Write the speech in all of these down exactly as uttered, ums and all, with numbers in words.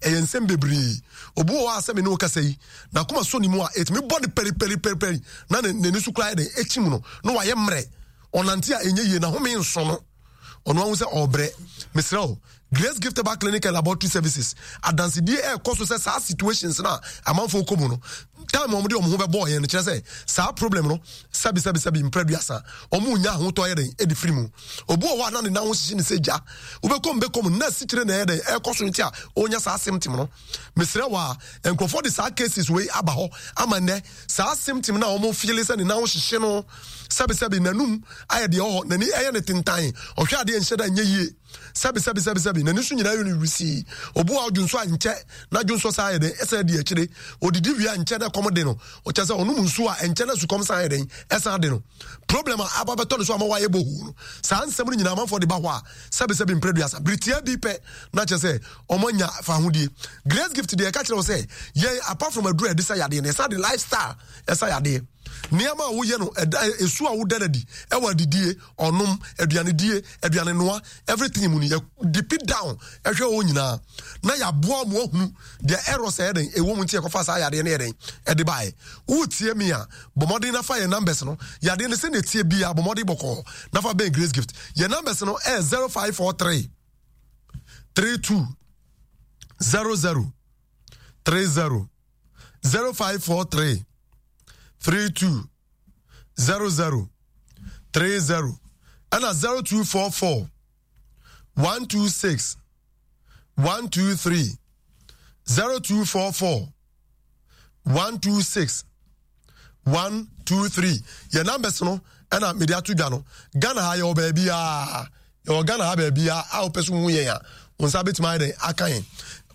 Ɛyɛ nsɛm bebree. Obi wɔ hɔ a sɛ me ne wo kasa yi, n'akoma sɔ ne mu a, ɛtumi bɔ ne pɛripɛripɛripɛri na n'ani so koraa yɛ dɛn ɛkyim no na wayɛ mmerɛ. Ɔnante a ɛnyɛ yie, n'ahome nso no. Ɔno ahu sɛ ɔrebrɛ. Mesrɛ wo, Grace Gift Herbal Clinic and Laboratory Services adansedie ɛrekɔ so sɛ saa situations no a amanfoɔ kɔ mu no, time wɔn de wɔn ho bɛbɔɔ yɛn no kyerɛ sɛ saa problem no sɛbi sɛbi sɛbi mprɛ duasa wɔn nya ahotɔ yɛ dɛn ɛde firi mu. Obi wɔ hɔ a na ne nan ho hyehye ne sɛ gya, wobɛkɔ mu bɛkɔ mu na asikyire na ɛyɛ dɛn ɛrekɔ so nti a ɔnya saa symptom no. Mesrɛ wɔ a nkurɔfoɔ de saa cases wei aba hɔ ama nnɛ saa symptom no a wɔn feele sɛ ne nan ho hyehye no, sɛbi sɛbi n'anum ayɛ deɛ ɔhɔ, n'ani ɛyɛ ne tentan, ɔhwɛ adeɛ nhyɛ da nyɛ yie, sɛbi sɛbi sɛbi sɛbi n'ani so nyinaa yɛ no wisii. Obu a ɔdwonso a nkyɛ na dwonso saa yɛ dɛn ɛsɛ di akyire, odidi wie a nkyɛ na kɔm de no, ɔkyɛ sɛ ɔnom nsuo a nkyɛ na sukɔm san yɛ dɛn ɛsan de no. Problem a aba bɛtɔ ne so ama wayɛ bohu no, saa nsɛm no nyinaa amanfoɔ de ba hɔ a sɛbi sɛbi mprɛ duasa biritia bi pɛ na kyerɛ sɛ ɔmo anya fa ahodie. Grace Gift deɛ, ɛka kyerɛ wo sɛ yɛn apart from aduru a yɛde sa yadeɛ no, yɛsa de lifestyle ɛsa yadeɛ. Nneɛma a woyɛ no ɛda esu a woda n'adi ɛwɔ adidie, ɔnom, aduanedie, aduane noa, everything mu no, yɛ deep down ɛhwɛ wɔn nyinaa na yɛaboa mo ahunu deɛ errors ɛyɛ den ɛwɔ mu nti yɛkɔfa saa yadeɛ no yɛ den ɛde baeɛ. Wotie mi a, bɔ mmɔden nafa yɛ numbers no. Yadeɛ no sɛ na etie bia, bɔ mmɔden bɔkɔɔ nafa bɛn Grace Gift. Yɛ numbers no ɛyɛ zero five four three three two zero zero three zero, zero five four three three two zero zero three zero, ɛna zero two four four one two six one two three, zero two four four one two six one two three. Yɛ numbers no ɛna mede ato dwa no. Ghana ha yɛwɔ baabiaa, yɛwɔ Ghana ha baabiaa a wopɛ so hu yɛn a, wo nsa bɛtumi ayɛ dɛn aka yɛn.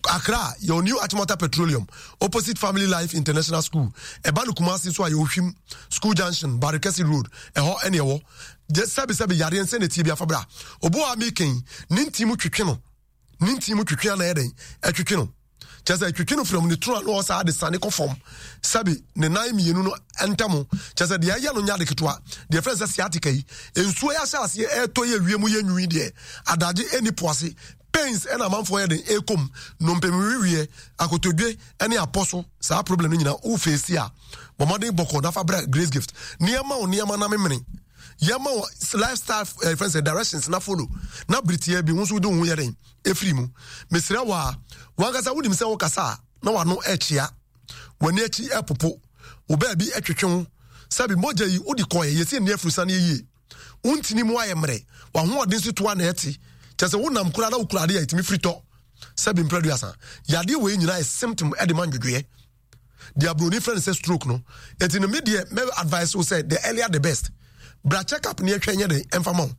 Accra, yɛwɔ New Achimota Petroleum, opposite Family Life International School. Ɛba no Kumasi nso a, yɛwɔ Hwim School Junction, Barekɛse Road, ɛhɔ ɛne ɛwɔ. Sɛbi sɛbi yareɛ nsɛ na tie bi afa bra. Obi a meken ne nti mu twetwe no, ne nti mu twetwe ana yɛ dɛn ɛtwetwe no, kyerɛ sɛ twetwe no firi ne toro ano ɔsaa de sane kɔ fam, sɛbi ne nan mmienu no ntam, kyerɛ sɛ deɛ ɛyɛ no nyɛ ade ketewa. Deɛ fɛn sɛ sciatica yi, nsuo yɛ ahyɛ aseɛ ɛɛtɔ yɛ wiem yɛ nwi deɛ adagye ɛni po ase pains ɛna amanfoɔ yɛ den ɛkɔm nnompem akotodwe ɛne apɔ so. Saa problem no nyinaa wofeesi a, bɔ mmɔden bɔkɔ nafa bra Grace Gift. Nneɛma wo nneɛma na memene yɛma wo lifestyle eh, fɛn sɛ directions na follow na biritia bi ho nso wode wo ho yɛ den ɛfiri mu. Mesrɛ wo a, wankasa wonim sɛ wokasa a na wano ɛkyea, w'ani akyi ɛpopo, wo baabi ɛtwetwe wo, sɛbi mogya yi wode kɔɛ yɛsi nni afuru sane yie, wontini mu ayɛ mmerɛ, wahoɔden so toa na ɛte, kyɛ sɛ wonam koraa na wokura adeɛ a ɛtumi firi tɔ. Sɛbi mprɛ duasa, yadeɛ wei nyinaa yɛ symptom ɛde ma ndwodwoeɛ deɛ aburoni frɛ no sɛ stroke no. Eti no mi deɛ, mɛ advice wo sɛ the earlier the best, bra check up ne ɛhwɛ nyɛ den ɛnfa ma wo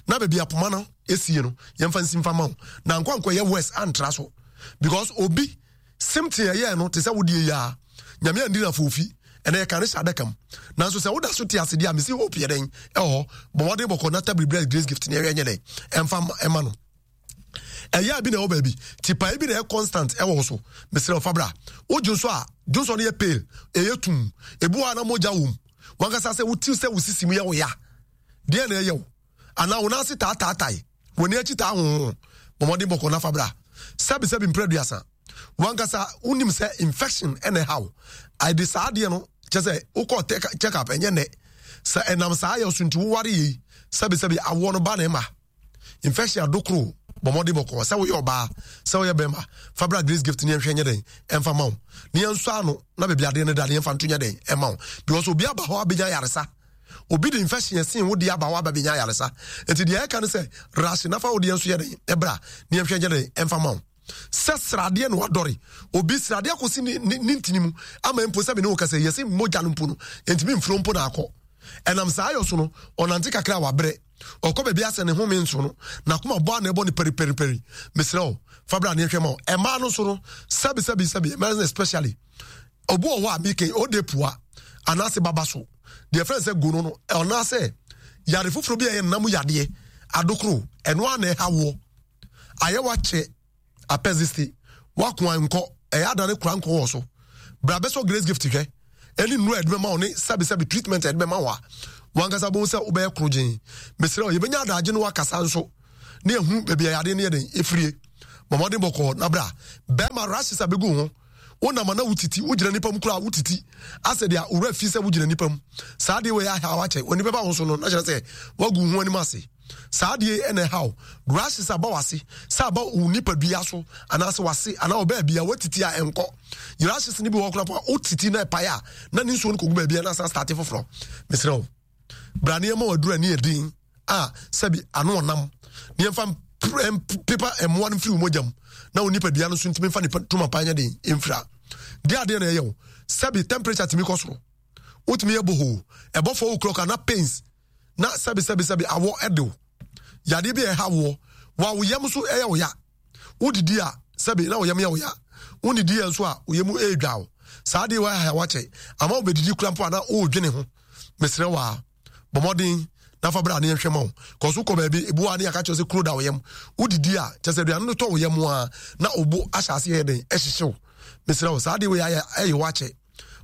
na baabi apoma no esie no yɛmfa nsi nfa ma wo na nkɔ nkɔ yɛ worse antra so, because obi symptom ɛyɛ no te sɛ wodie yi a Nyame andi na fofi ɛnna yɛ ka ne hyɛ adaka mu, nanso sɛ woda so te ase deɛ a, mesi hope yɛ dɛn ɛwɔ hɔ. Bɔ mmɔden bɔkɔ na tabiri brɛ Grace Gift ne ɛhwɛ nyɛ den ɛnfa ɛma no. Ɛyɛ bi na ɛwɔ baabi tipae bi na ɛyɛ constant ɛwɔ wo so, mesrɛ ɔfa bra. Wodwo nso a, dwonsɔ no yɛ pale, ɛyɛ tum, ebi wɔ a na mogya wɔ mu. Wankasa sɛ wotiw sɛ wo sisi mu yɛ wo ya deɛ na ɛyɛ wo anaa wo nan ase taataatae, w'ani akyi taa hoho, bɔmmɔden bɔkɔ nafa bra. Sɛbi sɛbi mprɛ duasa, wankasa wonim sɛ infection ɛna ɛha wo ade saa adeɛ no, kyɛ sɛ wokɔ check up ɛnyɛ nɛ sɛ ɛnam saa yɛ so nti woware yei, sɛbi sɛbi awoɔ no ba na ɛma infection adokoro. Bɔmmɔden bɔkɔ, sɛ woyɛ ɔbaa sɛ woyɛ bɛrima, fa bra Grace Gift ne yɛnhwɛ nyɛ dɛn ɛmfa ma wo ne yɛnsɔ ano na baabi adeɛ no da ne yɛmfa nto nyɛ dɛn ɛma wo, because obi aba hɔ abɛnya yaresa, obi de infection ɛsen wo de aba hɔ aba bɛnya yaresa. Nti deɛ ɛka ne sɛ rush nafa wo deɛ nso yɛ dɛn ɛbra ne yɛnhwɛ nyɛ dɛn ɛmfa ma wo. Sɛ sradeɛ na wadɔre obi sradeɛ akɔsi ne ne ne ntini mu ama mpo sɛ me ne wo kasa yɛsɛ mogya no mpo no ntumi mfuro mpo na akɔ ɛnam saa ayɔ so no, ɔnante kakra a wabrɛ, ɔkɔ baabi asɛ ne home nso no n'akoma bɔ a na ɛbɔ ne pɛripɛripɛri. Mesrɛ wo, fa bra ne ɛhwɛ ma wo. Ɛmaa no nso no, sɛbi sɛbi sɛbi mmaa no especially, obi wɔ hɔ a meke ɔde pua anaasɛ baba so deɛ fɛn sɛ gono no anaasɛ yare foforɔ bi a ɛyɛ nam yadeɛ adokoro ɛno a na ɛha woɔ ayɛ wakyɛ apɛsiste wakoa nkɔ ɛyɛ adane kora nkɔ wɔ so, bra bɛsɔ Grace Gift hwɛ ɛne nnuro a ɛde bɛma wo ne sɛbisɛbi treatment a ɛde bɛma wo a wankasa bɛhu sɛ wobɛyɛ koro gyen. Mesrɛ wo, yɛbɛnya adagye no wakasa nso ne ɛhu baabi a yadeɛ no yɛ den ɛfirie. Bɔ mmɔden bɔkɔɔ na bra. Bɛrima, rashes a bɛgu ho, wonam na wotiti, wogyina nipa mu koraa wotiti, asɛ deɛ owura fi sɛ wogyina nipa mu. Saa deɛ wei aha wakyɛ wɔ nipa ba wo so no, na kyerɛ sɛ wagu ho anim ase. Saa deɛ ɛna ɛha wo, rashes aba wase, sɛ aba wo nipadua so anaasɛ wase anaa ɔbaa bia watiti a ɛnkɔ. Rashes no bi wɔ koraa po a wotiti na ɛpae a, na ne nsuo no kɔgu baabi a na asan start foforɔ. Mesrɛ wo, bra nneɛma waduru ani yɛ den a sɛbi ano ɔnam ne yɛmfa pepa mmoa no mfiri wo mogya mu na wo nipadua no nso ntumi mfa nipa tuma pa nyɛ den mfira. Deɛ adeɛ na ɛyɛ wo, sɛbi temperature tumi kɔ soro, wotumi yɛ bohoo, ɛbɔ four o'clock ana pains na sɛbi sɛbi sɛbi awɔ ɛde wo. Yadeɛ bi a ɛha woɔ wa wo yam nso ɛyɛ wo ya, wodidi a sɛbi na wo yam yɛ wo ya, wodidi yɛ nso a wo yam ɛredwa wo. Saa adeɛ wɔ ha wakyɛ ama wo bɛdidi kura mpo a na wɔredwene ho. Mesrɛ wa, bɔ mmɔden na fa bra ne yɛnhwɛ ma wo kɔso kɔ baabi ebu a ne yɛaka kyerɛ sɛ kuro da wo yam. Wodidi a kyerɛ sɛ aduane no tɔ wo yam a na obo ahyɛ ase yɛ den ɛhyehyɛ wo. Mesrɛ wo, saa adeɛ wei ayɛ ɛyɛ wakyɛ,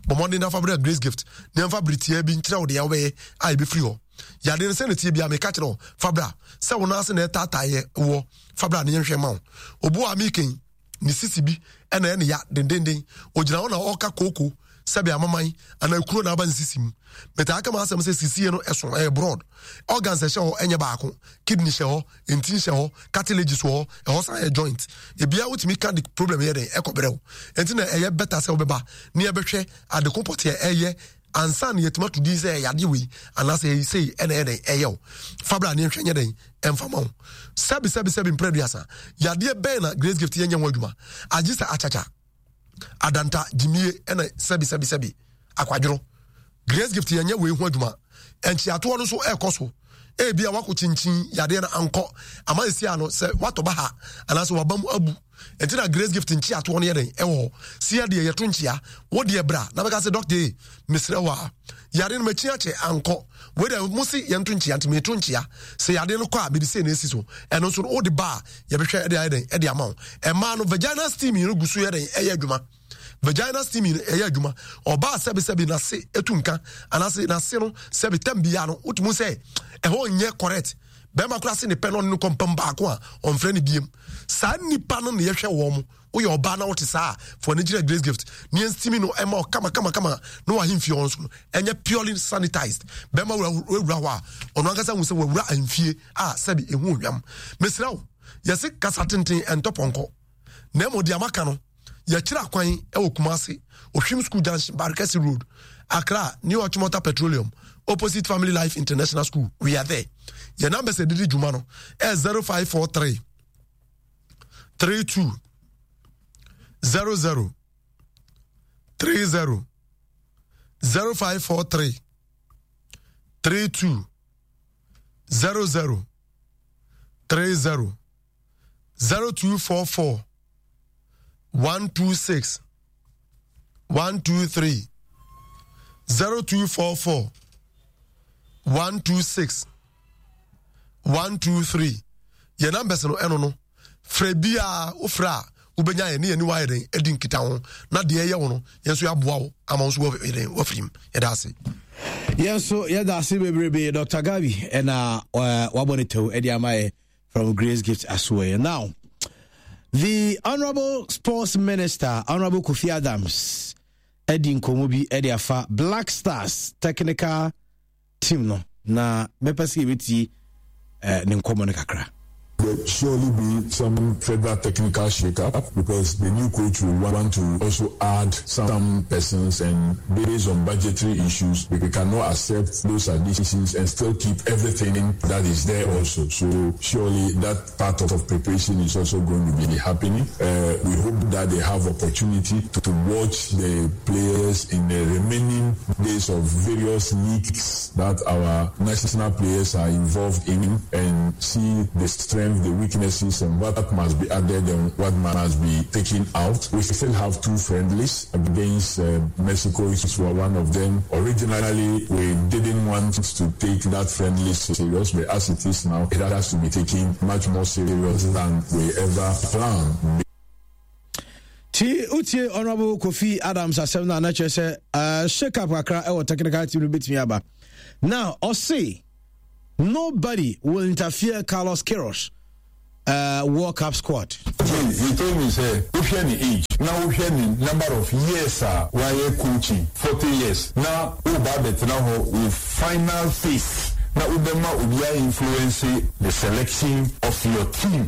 bɔ mmɔden na fa bra Grace Gift ne yɛmfa bere tiaa bi nkyerɛ wo deɛ wobɛyɛ a ɛbɛfiri hɔ. Yadeɛ no sɛ ne tie bia meka kyerɛ wo, fa bra. Sɛ wo nan ase na ɛtaataeɛ wɔ, fa bra ne yɛnhwɛ ma wo. Obu a meken ne sisi bi ɛna ɛne ya dendenden, ogyina hɔ na ɔka kooko, sɛbi amaman anaa kuro na aba ne sisi mu. Metaa ka ma asɛm sɛ sisie no ɛso ɛyɛ broad, organs ɛhyɛ hɔ ɛnyɛ baako. Kidney hyɛ hɔ, ntin hyɛ hɔ, cartilages wɔ hɔ, ɛhɔ san yɛ joint. Ebia wotumi ka de problem yɛ den ɛkɔ brɛw, nti na ɛyɛ better sɛ wobɛba ne yɛbɛhwɛ adeko pɔteɛ ɛyɛ ansa na yɛtumi ato din sɛ ɛyɛ adeɛ wei anaasɛ ɛyɛ sei ɛna ɛyɛ den ɛyɛ wo. Fabra ne nhwɛ nyɛ den ɛmfa ma wo. Sɛbi sɛbi sɛbi mpere aduasa, yadeɛ bɛn na Grace Gift yɛnyɛ ho adwuma agye sɛ akyakya adanta gyimie ɛna sɛbi sɛbi sɛbi akwadworɔ? Grace Gift yɛnyɛ wei ho adwuma. Nkyiatoɔ no nso ɛrekɔ so. Ebi a wakɔ kyinkyin yadeɛ no ankɔ ama esi ano sɛ watɔ ba ha anaasɛ waba mu abu, nti na Grace Gift nkyiatoɔ no yɛ den ɛwɔ hɔ. Si yɛ deɛ yɛto nkyia wo deɛ, bra na bɛka sɛ, "Doctor yi, mesrɛ wo a, yadeɛ no makyi akyɛ ankɔ. Wei deɛ mo se yɛnto nkyia, nti meto nkyia. Sɛ yadeɛ no kɔ a, mede sei na esi so." Ɛno nso no wode ba a, yɛbɛhwɛ ɛde ayɛ den ɛde ama wo. Ɛmaa no vaginal steam yi no gu so yɛ den ɛyɛ adwuma. Vaginal steaming ɛyɛ adwuma. Ɔbaa sɛbisɛbi n'ase etu nka anaasɛ n'ase no sɛbi tɛm bia no wotumi sɛ ɛhɔ nyɛ correct, bɛrima koraa se ne pɛ no ɔne no kɔmpam baako a ɔmfrɛ ne biem, saa nipa no na yɛhwɛ wɔn mo. Woyɛ ɔbaa na wote saa fo ani gyina Grace Gift ne yɛn steaming no ɛma ɔkama kama kama na wahemfie hɔ nso no ɛnyɛ purely sanitized. Bɛrima wura hɔ a, ɔno ankasa hu sɛ wawura ahemfie a sɛbi ehu ohwam. Mesrɛ wo, yɛse kasa tenten ɛntɔ pɔnkɔ, na mmom deɛ amaka no, yɛkyerɛ akwan ɛwɔ Kumase, Ohwim School Junction, Barikasi Road. Accra, New Achimota Petroleum, opposite Family Life International School, we are there. Yɛn numbers ɛdidi dwuma no ɛ zero five four three three two zero zero three zero, zero five four three three two zero zero three zero, zero two four four one two six one two three, zero two four four one two six one two three. Yɛn numbers no ɛno no, frɛ biara, wofrɛ a wobɛnya yɛn ne yɛn ni wayɛ den adi nkita ho na deɛ ɛyɛ wo no, yɛn nso yɛaboa wo ama wo nso wɔyɛ den wafiri mu. Yɛda ase. Yɛn nso yɛda ase bebrebe, Doctor Gabi, ɛna uh, wabɔ ne tɛw ɛde ama yɛ from Grace Gift Asoɛ. Now, the Honorable Sports Minister, Honorable Kofi Adams, ɛdi nkɔmmɔ bi ɛde afa Black Stars technical team no, na mɛpɛ sɛ yɛbɛtie uh, ne nkɔmmɔ no kakra. There surely be some further technical shake-up because the new coach will want to also add some persons, and based on budgetary issues, we cannot accept those additions and still keep everything that is there also. So surely that part of preparation is also going to be happening. Uh, we hope that they have opportunity to, to watch the players in the remaining days of various leagues that our national players are involved in and see the strength, the weaknesses, and what must be added and what must be taken out. We still have two friendlies against uh, Mexico, which were one of them. Originally, we didn't want to take that friendly serious, but as it is now, it has to be taken much more serious than we ever planned. Ti wotie Honorable Kofi Adams asɛm no a, na kyerɛ sɛ uh, shake up kakra ɛwɔ technical team no bɛtumi aba. Now ɔse nobody will interfere Carlos Queiroz uh, World Cup squad. Me, he told me sɛ wohwɛ ne age na wohwɛ ne number of years a wayɛ coaching, forty years, na woba abɛtena hɔ wo final phase na wobɛma obiara influence the selection of your team.